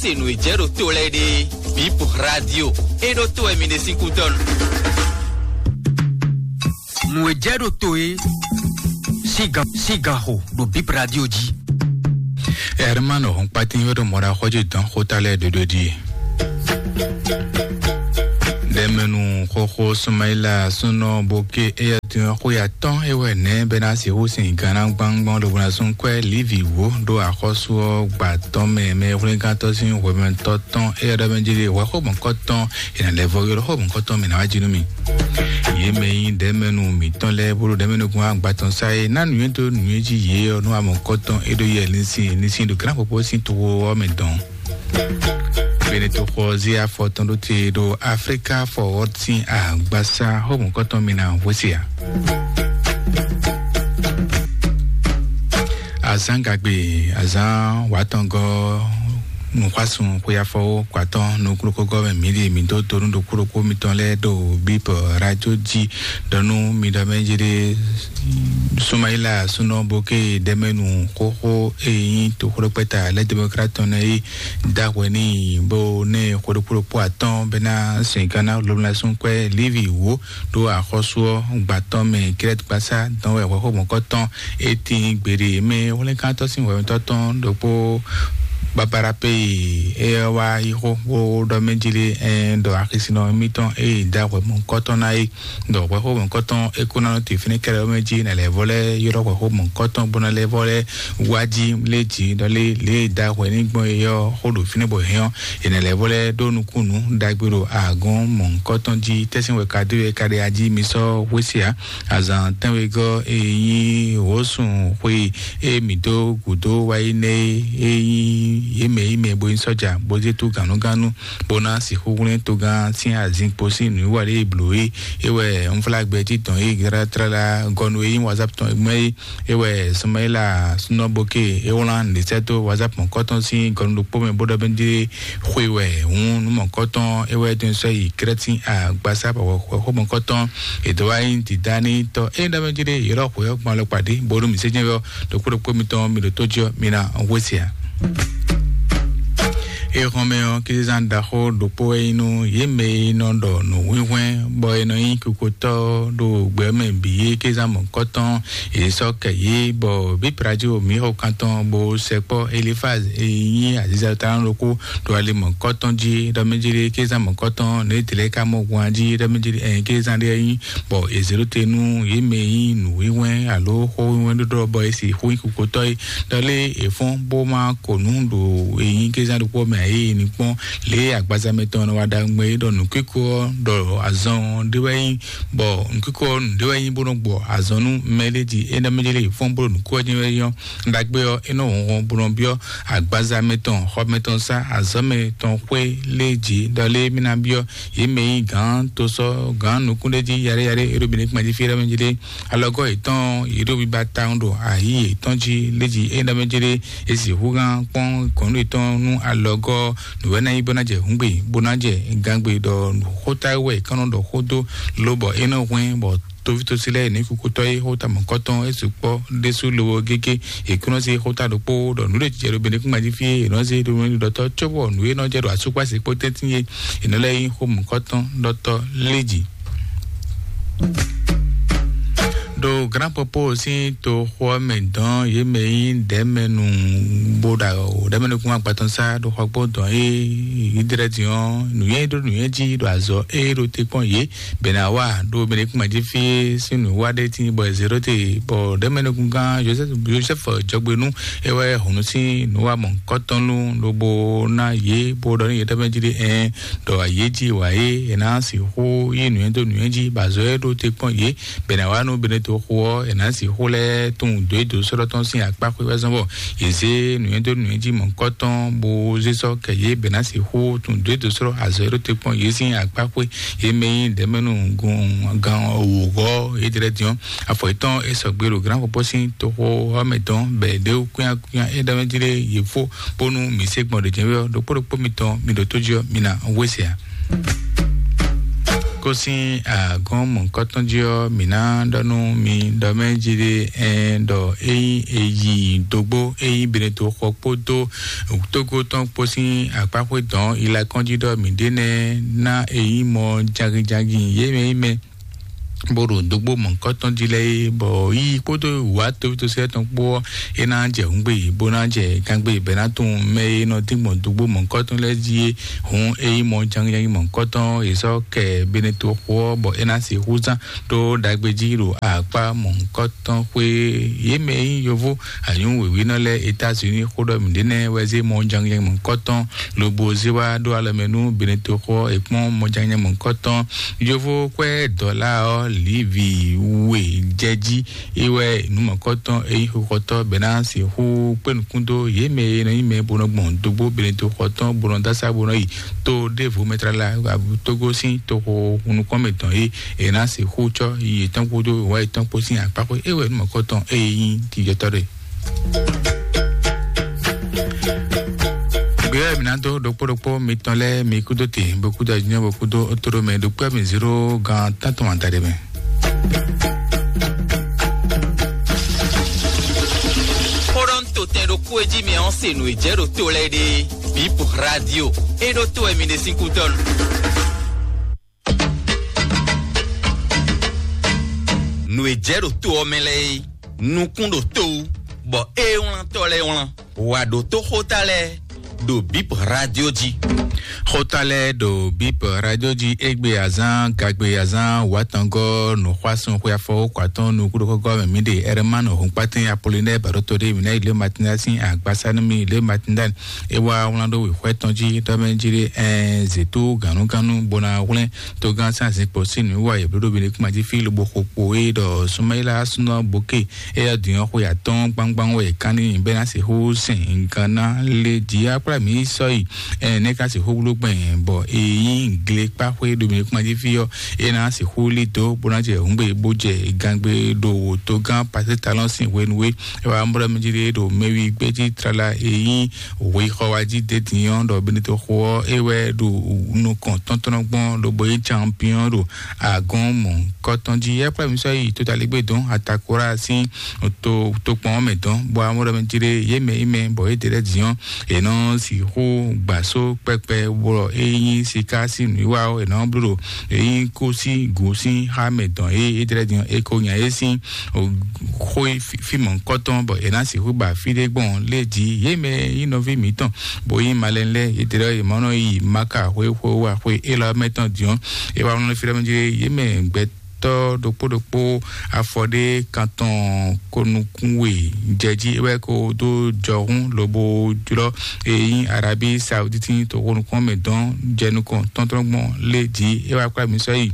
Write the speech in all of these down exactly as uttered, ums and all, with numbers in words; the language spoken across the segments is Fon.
Se nǔ e jɛ ɖo to lɛ́ɛ ɖe, Bip Radio, e ɖo to wɛ mi ɖe sín kútɔ́ nu. Nǔ e jɛ ɖo to e sígan sígan xo ɖo Bip Radio jí. Hermano Hɔnkpatin wɛ ɖo mɔɖaxɔjí dɔn xóta lɛ́ɛ ɖoɖo ɖíe. Ɖɛmɛnu xóxó Sumaila súnɔ Boke, éyɛ́ din ɔ́, xó ya tɔn é wɛ nɛ̌ bɛ ná sixú sin Gana gbangban lobo ná zún kwɛ́ Livi wǒ ɖó axɔ́sú ɔ́ gba tɔn mɛ. Mɛ hwlɛ́ngántɔ́ sín hwɛmɛtɔ́ tɔn, éyɛ́ ɖɔ mɛ jí ɖe hwɛ xó mɔ̌kɔtɔn, è nǎ lɛ́ vɔ ylɔ́ xó mɔ̌kɔtɔn mɛ ná wá jí nú mì. Yě mɛ nyí ɖɛ̌mɛnu mǐtɔn lɛ́ɛ bó ɖo ɖɛ̌mɛnu gún agba tɔn sá é, ná nǔnywɛ́ dó nǔnywɛ́ jí yě ɔ́ nú amɔ̌kɔtɔn é ɖó yɛ linsin linsin ɖo gǎnxopó sín toxo ɔ́ mɛ dɔn. Benetoxɔ zé afɔ tɔn ɖó te ɖo Afrika Forward sín agbasa xó mɔ̌kɔtɔn mì ná hwesí a. Azán gagbe, azán wǎtɔngɔ́ nǔxwásún xweyafɔwó kwatɔ́ nukúnukúgɔ́ mɛ mǐ ɖi mǐ dó donu ɖokpó ɖokpó mitɔn lɛ́ɛ ɖo Bíbɔ Radio jí ɖɔ nú mi ɖɔ mɛ jí ɖé Sumayila súnɔ Boke ɖɛmɛnu xóxó e nyí toxóɖokpɛ́ta lɛ́ Demokrat tɔn nɛ́ é da hwɛ n'i bó ná ɛ xwe ɖokpó ɖokpó atɔ́ɔ́n bɛ́ ná sɛn Gana lomlɛsúnkwɛ́ Livi wǒ ɖó axɔ́sú ɔ́ gbatɔ́ mɛ Krɛ́t gbasá dɔn wɛ hwɛxó mɔ̌kɔtɔn. Etin gbeɖe mɛ hwlɛ́nkántɔ́ sín hwɛmɛtɔ́ tɔn ɖokpó babara pe e é wá yi xó bó ɖɔ mɛ jí lé ɛn ɖɔ axisinɔ mitɔn e da hwɛ mɔ̌kɔtɔn ná é ɖɔ hwɛxó mɔ̌kɔtɔn é kó ná nɔ te fínɛ́ kɛlɛ mɛ jí nɛ lɛ̌ vɔ lɛ́ ylɔ́ hwɛxó mɔ̌kɔtɔn bó ná lɛ́ vɔ lɛ́ wá jí lé jí ɖɔ lé lě e da hwɛ ní gbɔn é ɔ́ xó ɖo fínɛ́ bɔ hɛn ɔ́ è nɛ lɛ̌ vɔ lɛ́ ɖó nukúnnú ɖagbe ɖo agɔn mɔ̌kɔtɔn jí. Tɛ́sín wɛ ka dó é ka ɖe ají mi sɔ́ hwésí ǎ. Azǎn tɛ́nwegɔ́ e nyí wǒsun xwe e mǐ dó gǔdo wá yi nɛ́ é nyí yě mɛ yi mɛ bo nyí sɔ́ja bó zé tó gǎnúgánú bó ná sixú hwlɛ́n togán sín azin kpo sín nǔwiwa ɖé e blǒ é. É wɛ unflágbɛ títɔn e tlátlála gɔnu e nyí WhatsApp tɔn mɛ é. É wɛ Sumayila súnɔ Boke é wlán nǔɖé sɛ́ dó WhatsApp mɔ̌kɔtɔn sín gɔnu ɖokpó mɛ bó ɖɔ bɛ́ dé xwe wɛ hǔn nú mɔ̌kɔtɔn é wɛ dó sɔ́ yi Krɛ́t sín agbasá bɔ xwe xó mɔ̌kɔtɔn. È dó wá nyí dǐdá n'i tɔ́ é ɖɔ mɛ jí ɖé yě ɖɔ xwe ɔ́ gbɔn alɔkpa ɖé bónú mǐ sé jɛ́n ɔ́ ɖo kúɖokpó mitɔn mi ɖo tó jí ɔ́ mi ná hwesí ǎ. Éhɔ́nmɛ ɔ́, Klízán ɖaxó ɖokpó wɛ nyí nú yě mɛ e nɔ ɖɔ nǔhwínhwɛ́n bɔ è nɔ nyí kukotɔ́ ɖo gbɛ mɛ bǐ é Klízán mɔ̌kɔtɔn. È sɔ́ kɛ yě bɔ Bíbrajíwo mǐxɔkantɔn bó sɛkpɔ́ Elifaz e nyí azizatɔ́ ɖokpó ɖo ali mɔ̌kɔtɔn jí ɖɔ mɛ jí ɖé Klízán mɔ̌kɔtɔn nǔ e dlɛ̌ ka mɔ hwan jí ɖɔ mɛ jí ɖé ɛn Klízán ɖé nyí bɔ è zě ɖó te nú yě mɛ e nyí nǔwínwɛ́n alo xó wínwɛ́n ɖó ɖɔ bɔ è sixú nyí kukotɔ́ é. Ɖɔ lé è fɔ́n bó má ko nǔ ɖo e nyí kézán ɖokpó mɛ ǎ é ní kpɔ́n lě e agbaza mɛtɔn nɔ wa ɖagbe é ɖɔ nǔkíko ɔ́ ɖɔ azɔn ɔ́ ɖé wɛ nyí bɔ nǔkíko ɔ́ nǔ ɖé wɛ nyí bó nɔ gbɔ azɔn nú mɛ lé jí é ná mɛ lé è fɔ́n bó ɖo nǔkó ɔ́ jɛ́n wɛ nyí ɔ́. Ɖagbe ɔ́ é nɔ hɔn bó nɔ byɔ́ agbaza mɛtɔn xɔ mɛtɔn sá azɔ̌ mɛtɔn xwé lé jí ɖɔ lé mí ná byɔ́ yě mɛ nyí gǎn tosɔ́ gǎn nukúnɖéjí yaɖéyaɖé é ɖo Benɛ́kpɛ́n jí fí é ɖɔ mɛ jí ɖé. Alɔgɔ́ yětɔn yě ɖo biba tawun ɖo ayǐ yětɔn jí léjí é ɖɔ mɛ jí ɖé. È sixú gán kpɔ́n gɔ̌nɖó yětɔn nú alɔgɔ́ nǔwɛ́ ná nyí bó ná jɛ hǔngbe bó ná jɛ gangbe ɖɔ xóta wɛ è kán nɔ ɖɔ xó dó lobɔ é nɔ hwɛ́n bɔ tovítɔ́sí lɛ́ɛ ní kúkútɔ́ é xóta mɔ̌kɔtɔn é sukpɔ́ ɖésú lobo gégé. È kún nɔ zé xóta ɖokpó ɖɔ nǔ ɖé jɛ ɖo Benɛ́kpɛ́n jí fí é è nɔ zé ɖo mɛ ɖɔtɔ́ cóbɔ nǔ e nɔ jɛ ɖo asúkpásí kpó tɛ́ntin é è nɔ lɛ́ nyí xó mɔ̌kɔtɔn ɖɔtɔ́ léjí. Ɖo Grand Popo sín toxo ɔ́ mɛ dɔn yě mɛ nyí ɖɛ̌mɛnu bó ɖa ɖɛ̌mɛnukún agbatɔnsá ɖo xɔgbó dɔn é yí dlɛ́ din ɔ́ nǔnywɛ́ ɖó nǔnywɛ́ jí ɖo azɔ̌ é ɖo te kpɔ́n yě bɛ̌ ná wa ɖo Benɛ́kpɛ́n jí fí sín nǔwiwa ɖé tín bɔ è zě ɖó te bɔ ɖɛ̌mɛnukúngán Josɛ́f Josɛ́f jɔgbe nú é wɛ hǔn sín nǔwamɔ̌kɔtɔn nú lobo ná yě bó ɖɔ nú yě ɖɛ̌mɛ jí ɖé ɛn ɖɔ yě jí wǎ é è nǎ sixú yí nǔnywɛ́ dó nǔnywɛ́ jí bɔ azɔ̌ e ɖó te kpɔ́n yě bɛ̌ ná wá nú Benɛ́kpɛ́n xo ɔ́ è nǎ sixú lɛ́ tunwun dǒ é dǒ sɔ́ tɔn sín akpá xwé wɛ zɔ́n bɔ yě zé nǔnywɛ́ dó nǔnywɛ́ jí mɔ̌kɔtɔn bó zé sɔ́ kɛ yě bɛ̌ ná sixú tunwun dǒ é dǒ sɔ́ azɔ̌ e ɖó te kpɔ́n yě sín akpá xwé. Yě mɛ nyí ɖɛ̌mɛnu gɔn gan wǒ gɔ́ yě dlɛ́ din ɔ́, afɔ yětɔn é sɔgbe ɖo Grand Popo sín toxo ɔ́ mɛ tɔn bɔ è ɖě kúnyakwínya é ɖɔ mɛ jí ɖé yě fó bónú mǐ se gbɔn ɖě jɛ́n wɛ ɔ́, ɖokpó ɖokpó mitɔn mi ɖo tó jí ɔ́, mi ná wé se ǎ. Kó sín agɔ́n mɔ̌hunkɔtɔn jí ɔ́, mǐ ná ɖɔ nú mi ɖɔ mɛ jí ɖé, ɛn ɖɔ ényí è yi dógbó, ényí Beneto xɔ kpódó Tógó tɔn kpó sín akpáxwé dɔn ilakɔ́n jí ɖɔ mǐ ɖe nɛ́ ná ényí mɔ jagin jagin yě mɛ yí mɛ bó ɖo dógbó mɔ̌hunkɔtɔn jí lɛ́ɛ é, bɔ yí kpódó wǎ tóvítósɛ́ tɔn kpó ɔ́, é ná jɛ hǔngbe, bó ná jɛ gangbe bɛ̌ ná tunwun mɛ e nɔ dín gbɔn dógbó mɔ̌hunkɔtɔn lɛ́ɛ jí é. Hǔn é nyí mɔ jangíjangí mɔ̌hunkɔtɔn, è sɔ́ kɛ Beneto xo ɔ́, bɔ é ná sixú zán ɖó ɖagbe jí ɖo akpá mɔ̌hunkɔtɔn xwé. Yě mɛ e nyí yovó anyǔ wěwínɔ lɛ́ɛ États-Unis xó ɖɔ mǐ ɖě nɛ́ wɛ zé mɔ jangíjangí mɔ̌hunkɔtɔn lobo zé wá ɖó alɔ mɛ nú Beneto xó ɔ́, è kpɔ́n mɔ jangíjangí mɔ̌hunkɔtɔn. Yovó kwɛ́ dɔ̌la ɔ́, Livi we jɛ jí. É wɛ nǔmɔkɔtɔn e nyí xixɔtɔ́ bɛ́ ná sixú kpé nukún dó yě mɛ e nɔ nyí mɛ bó nɔ gbɔn dógbó Beneto xɔ tɔn bó nɔ dó asá bó nɔ yi to ɖěvo mɛ tlala Togo sín toxo nukɔn mɛ tɔn é è nǎ sixú cɔ́ yi yětɔn kpódó wǎ yětɔn kpó sín akpá xwé. É wɛ nǔmɔkɔtɔn e nyí jijɔtɔ́ ɖe. Gbéyɛ́ mi ná dó ɖokpó ɖokpó mitɔn lɛ́ɛ mi kúdó te bó kúdó ajínjɔ́n bó kúdó ótóɖó mɛ ɖokpó mi zéro gan tántɔn adaɖé mɛ. Xó ɖɔ ń to tɛn ɖokpó e jí mi ɔ́ se nǔ e jɛ ɖo to lɛ́ɛ ɖe. Bip Radio. É ɖó to wɛ mi ɖe sín kútɔ́ nu. Nǔ e jɛ ɖo to ɔ́ mɛ lɛ́ɛ é, nukún ɖo to wú, bɔ é wlán tɔ́ lɛ́ɛ wlán. Wǎ ɖótó xóta lɛ́ɛ ɖo Bip Radio jí. Xóta lɛ́ɛ ɖo Bip Radio jí égbé azán gagbe azán wǎtɔngɔ́ nǔxwásún xwe afɔwókɔ atɔn nukúɖokɔ́gɔ́ mɛ mǐ ɖe Ɛrɛmánu Hɔnkpátɛn Apolinɛ́ɛ Bɛ̌ɖoto ɖé mǐ ná yi lě Matinda sín agbasa nú mì lě Matinda. É wá wlán ɖó wěxwɛ́ tɔn jí ɖɔ mɛ jí ɖé ɛɛ zětú gǎnúgánú bó ná hwlɛ́n togán sín azǐnkpo sín nǔwiwa yěblóɖó Benekuma jí fí lobo xo kpo é ɖɔ Sumayila súnɔ Bóke. Éyɛ́ din ɔ́, xwe atɔ́ɔ́n gbangban wɛ è kán n'i bɔ é ná sixú sɛn gan ná lé jǐ akplámǐ sɔ́yi. Ɛnɛ́ ka sixú bló gbɛn bɔ è nyí glekpáxwé ɖo mǐ kpán jí fí ɔ́, é ná sixú lí dó bó ná jɛ hǔngbe bó jɛ gangbe ɖo wǒtogán Pasé Talɔn sín hwenu é. É wá mlɔ́ mì jí ɖé ɖo mɛwi gbéjí tlala e nyí hwexɔ wá jí d'é din ɔ́, ɖɔ Benito xo ɔ́, é wɛ ɖo nukɔn tɔntɔ́n gbɔn lobo nyí champion ɖo agɔn mɔ̌hunkɔtɔn jí. É kplá mì sɔ́ yi totaligbé dɔn Atakora sín to tokpɔn ɔ́ mɛ dɔn, bɔ amɔ́ ɖɔ mɛ jí ɖé yě mɛ yi mɛ bɔ yě ɖe lɛ́ din ɔ́, è nɔ sixú gbǎ só kpɛkpɛ bɔ é nyí siká sín nǔwiwa ɔ́, è nɔ bló ɖo é nyí kó sín gǔ sín xá mɛ dɔn é é ɖe lɛ́ din ɔ́, è ko nya é sín xó fí mɔ̌hunkɔtɔn bɔ è nǎ sixú ba fí ɖé gbɔn lé jí. Yě mɛ nyí nɔví mǐtɔn bó nyí malɛn lɛ́ɛ, yě ɖe lɛ́ yě mɔ nɔ yi Maka xwé xwé wá xwé élɔ́ mɛ tɔn din ɔ́, é wá nɔ fí ɖɔ mɛ jí yě mɛ gbɛ tɔ́ ɖokpó ɖokpó afɔ ɖé kantɔn ko nukún we jɛ jí é wɛ ko dó jɔhún lobo jlɔ́ e nyí Arabi Sauditi to ko nukún mɛ dɔn jɛ nukɔn tɔntɔn gbɔn lé jí é wá kplá mi sɔ́ yi.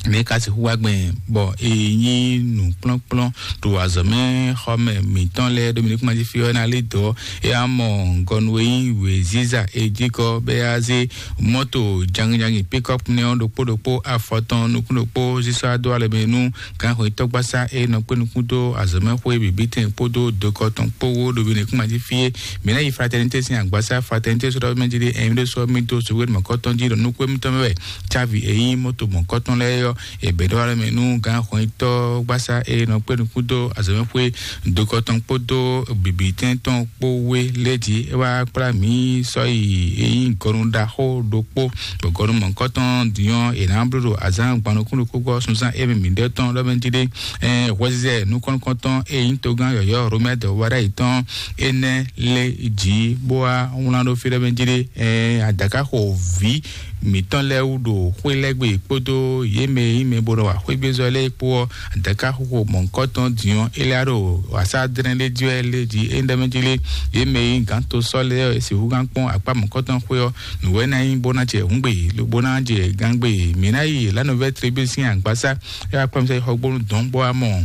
Mɛ ka sixú wá gbɛn bɔ e nyí nǔkplɔ́nkplɔ́n ɖo azɔ̌mɛ xɔmɛ mǐtɔn lɛ́ɛ ɖo mǐnikúnmá jí fí ɔ́ ná lí dɔ̌. É wá mɔ gɔnu e nyí wěziza e jí kɔ bɔ é wá zé mɔ́to jangin jangin pikɔ́p nɛ́ ɔ́ ɖokpó ɖokpó afɔ tɔn nukún ɖokpó sísá dó alɔ mɛ nú gǎnxwetɔ́gbasá e nɔ kpé nukún dó azɔ̌mɛxwé bǐbítɛn kpódó dokɔ tɔn kpó wó ɖo mǐnikúnmá jí fí é. Mǐ ná yi fraternité sín agbasá fraternité sɔ́ ɖɔ mɛ jí ɖé ɛ̀mí ɖé sɔ́ mì dó sowéɖo mɔ̌kɔtɔn jí ɖɔ nukún émítɔn mɛ wɛ cávi e nyí mɔ́to mɔ̌kɔtɔn lɛ́ɛ ɔ́. È bɛ̌ ɖɔ alɔ mɛ nú gǎnxɔnyitɔ́ gbásá e nɔ kpé nukún dó azɔ̌mɛxwé dokɔ tɔn kpódó bǐbítɛn tɔn kpó wé lé jí é wá kplá mǐ sɔ́ yi e nyí gɔnu ɖaxó ɖokpó, bɔ gɔnu mɔ̌kɔtɔn din ɔ́ è nǎ bló ɖo azǎn gban nukún ɖokpó gbɔ sunzán émí mǐɖɛtɔn ɖɔ mɛ jí ɖé. Ɛɛ hwɛzizɛ nukɔn nukɔntɔn e nyí togán yɔ̌yɔ́ Romɛ́ dɔ̌wúwa ɖ'ayǐ tɔn énɛ́ lé jǐ bó wá wlán ɖó fí ɖɔ mɛ jí ɖé. Ɛɛ adǎkáxo vǐ mǐtɔn lɛ́ɛ wú ɖo xwé lɛ́ɛ gbe kpódó yě mɛ e nyí mɛ bó nɔ wa xwégbézɔ́ lɛ́ɛ kpó ɔ́, adǎkáxoxo mɔ̌hunkɔtɔn din ɔ́, é lɛ́ ɖo wǎsá dlɛ́n ɖé jí wɛ lé jí é ɖɔ mɛ jí lé. Yě mɛ e nyí gǎn to sɔ́ lɛ́ɛ ɔ́, è sixú gán kpɔ́n akpá mɔ̌hunkɔtɔn xwé ɔ́, nǔ wɛ ná nyí bó ná jɛ hǔngbe, lobo ná jɛ gángbe. Mǐ ná yi La Nouvelle Tribune sín agbasá, é wá kplɔ́n mì sɔ́ yi xɔgbónu dɔ̌n bó wá mɔ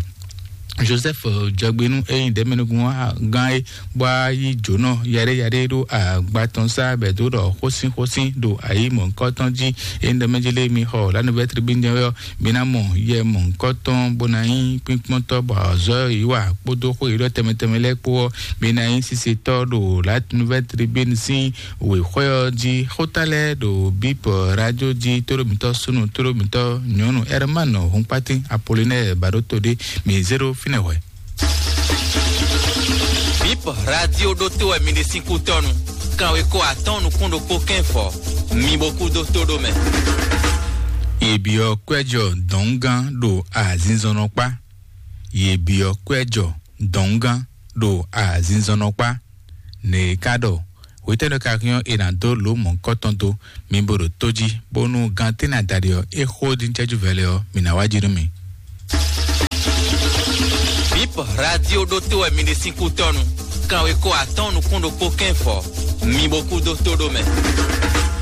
Joseph Jɔgbenu, eyin ɖɛmɛnugun gán e bɔ yi jǒnɔ yaɖé yaɖé ɖo agba tɔn sá bɛ dó ɖɔ xósín xósín ɖo ayi mɔ̌kɔtɔn jí. Eyin ɖɛmɛjélé mi xɔ la nouvelle tribune jɛ ɔ, mi ná mɔ yɛ mɔ̌kɔtɔn bó ná nyí kpínkpɔ́ntɔ́ bɔ azɔ̌ yi wà kpódó xó yi ɖɔ tɛmɛ tɛmɛ lɛ́ɛ kpó ɔ́, mi ná nyí sisetɔ ɖo la nouvelle tribune sín wěxwé ɔ́ jí. Xóta lɛ́ɛ ɖo bip radio jí tóɖó mǐtɔn súnnu tóɖó mǐtɔn nyɔ̌nu Herman Hunkpatin Apollinaire Baɖótodé. Mi zéro fínɛ́ hwɛ. Bip radio ɖótó wɛ mi ɖe sín kútɔ́nu. Kanweko atɔ́ɔ́n nukún ɖokpó kɛ́nfɔ. Mi bo kú dó tó ɖó mɛ. Yě byɔ́ kwɛ́jɔ dɔ̌ngán ɖo azinzɔnnɔkpá. Yě byɔ́ kwɛ́jɔ dɔ̌ngán ɖo azinzɔnnɔkpá. Nɛ̌ ka ɖɔ? Hwetɛ́nɔ ka hyɔ́n è nǎ dó lǒ mɔ̌hunkɔtɔn dó mi bo ɖo tó jí, bónú gantɛ́ ná daɖi ɔ́, é xó dín cɛ́jú vɛlɛ ɔ́, mǐ ná wá jí nú mi. Bip radio ɖótó wɛ mi ɖe sín kútɔ́nu. Kanweko atɔ́ɔ́n nukún ɖokpó kɛ́nfɔ. Mi bo kú dó tó ɖó mɛ.